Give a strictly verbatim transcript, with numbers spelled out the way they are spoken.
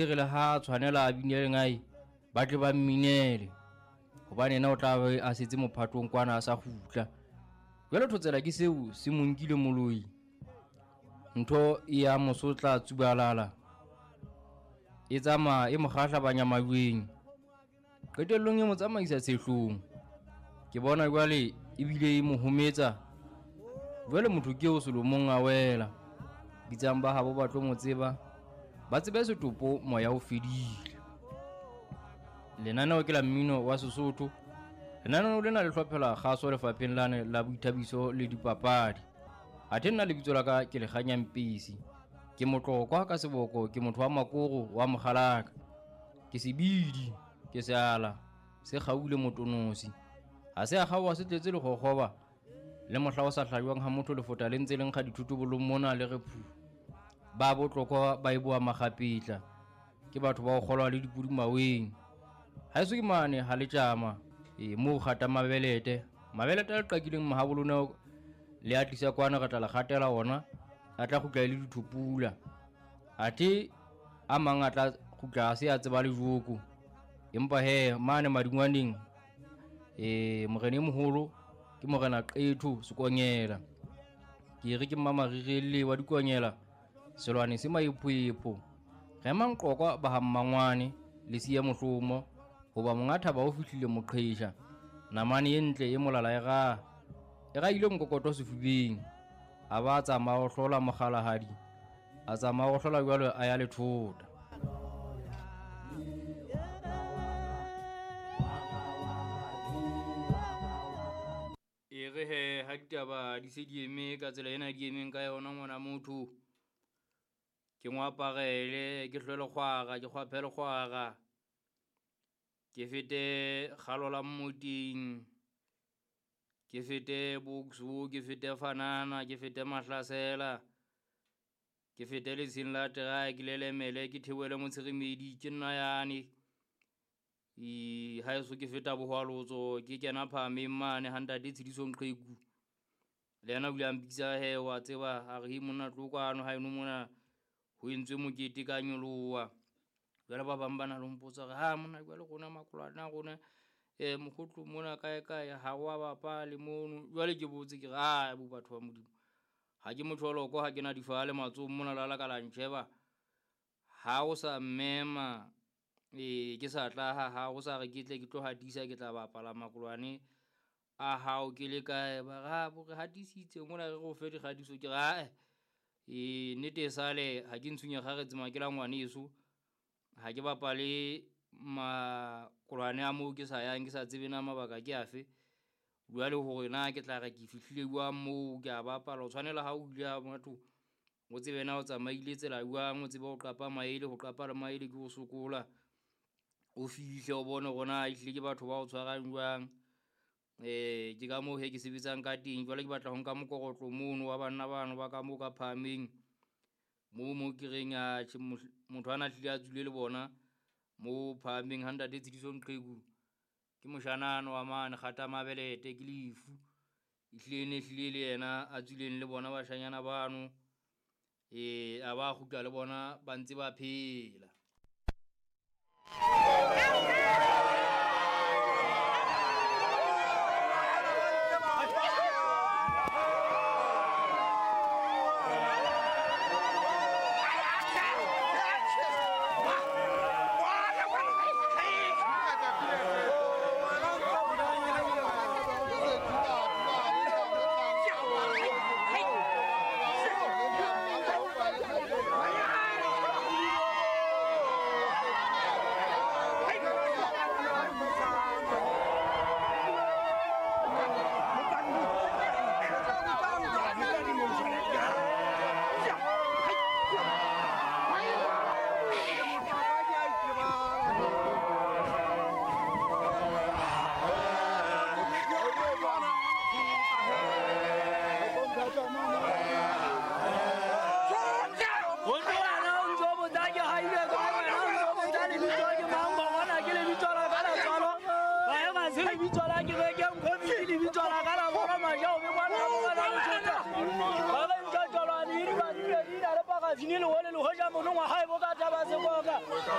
Re le ha tshwanela a binele ngai ba tle ba mminele hobane yena o tla be a setse mophatong kwana a sa kgutla. Jwale thotsela ke seo se mo nkile moloi, ntho e ya mosotla tsubalala e tsamaya e mo kgahlabanya majweng, qetellong e mo tsamaisa tshehlong. Ke bona jwale ebile e mo hometsa. Jwale motho ke o selomong a wela, bitsang ba habo ba tlo mo tseba, ba tsebe setopo moya o fedile. Lenaneo ke la mmino wa Sesotho. Lenaneo lena le hlophela kgaso lefapheng lane la boithabiso le dipapadi. Athe nna lebitso la ka ke Lekganya Mpisi, ke motlokwa ka seboko, ke motho wa makoro wa mokgalaka, ke sebidi, ke seala se kgaule motonosi, ha se a kgaoha se tletse lekgokgoba le mohla o sa hlajwang ha motho lefota le ntse le nkga dithutobolong mona le re phu. Ba botlokwa ba e boa makgapetla, ke batho ba ho kgolwa le dipudi maweng. Ha eso ke mane ha le tjama e moo kgata mabelete, mabelete a le qakileng mahabolona le a tlisa kwana re tla le kgatela ona, a tla kgutla le dithupula. Athe a mang a tla kgutla a se a tseba le joko. Empa he mane madingwaneng eh morena e moholo ke morena Qetho Sekonyela, ke re ke mmamarire wa dikonyela selwane se maiphoepho. Re manqokwa ba ha mmangwane le siya mohlomo hoba monga thaba o fihlile moqhesha, namane e ntle e molala e ra e ra ile nkokoto sefubeng. A ba tsamaya ho hlola mokgalahadi, a tsamaya ho hlola jwalo a ya lethota. E re he ha ditaba di se di eme ka tsela ena di emeng ka yona ngwana motho, ke mo aparele, ke hlwele kgwara, ke kgwaphele kgwara, ke fete kgalo la mmoting, ke fete Boksburg, ke fete Fanana, ke fete Mahlasela, ke fete letsheng la Terae, ke lelemele, ke theohele Motshirimedi, ke nna yane. E ha eso ke feta bohwalotso, ke kena phahameng mane ha ntate Tshediso Nqeku. Le yena o ile a mpitsa he wa tseba, a re he monna tlo kwano ha eno mona ho entswe mokete ka nyoloha. Jwale ba bang ba na le ho mpotsa hore ha monna jwale rona makolwane a rona eh mokgotlo mona kae kae ha wa bapale mono. Jwale ke botse ke re ah bo batho ba Modimo, ha ke motho wa loko, ha ke na difale matsohong mona la la ka la ntjheba. Ha o sa mmema e ke sa tla ha ha o sa re ke tle ke tlo hatisa, ke tla bapala makolwane a hao ke le kae. Ba re ha bo re hatisitse mona re go fe dikgatiso. Ke re ae e nnete e sale ha ke ntshunya kgaretse makela ngwaneso, ha ke bapale makolwane a moo ke sa yang, ke sa tsebe na mabaka ke afe. Jwale hore na ke tla re ke fihlile jwang moo ke a bapala, o tshwanela ha o ile ha motho o tsebe na o tsamaile tsela jwang, o tsebe ho qapa maele, ho qapa le maele ke ho sokola, o fihle o bone hore na ehlile ke batho ba o tshwarang jwang. Eh ke ka moo he ke sebetsang ka teng. Jwale ke batla ho nka mokorotlo mono wa banna bano ba ka moo ka phahameng moo mo ke reng a tjhe motho ana hlile a tswile le bona mo phahameng ha ntate Tshediso Nqeku ke moshanana wa mane kgata mabelete ke lefu, ehlile ne hlile le yena a tswileng le bona bashanyana bano eh a ba kgutla le bona ba ntse ba phela.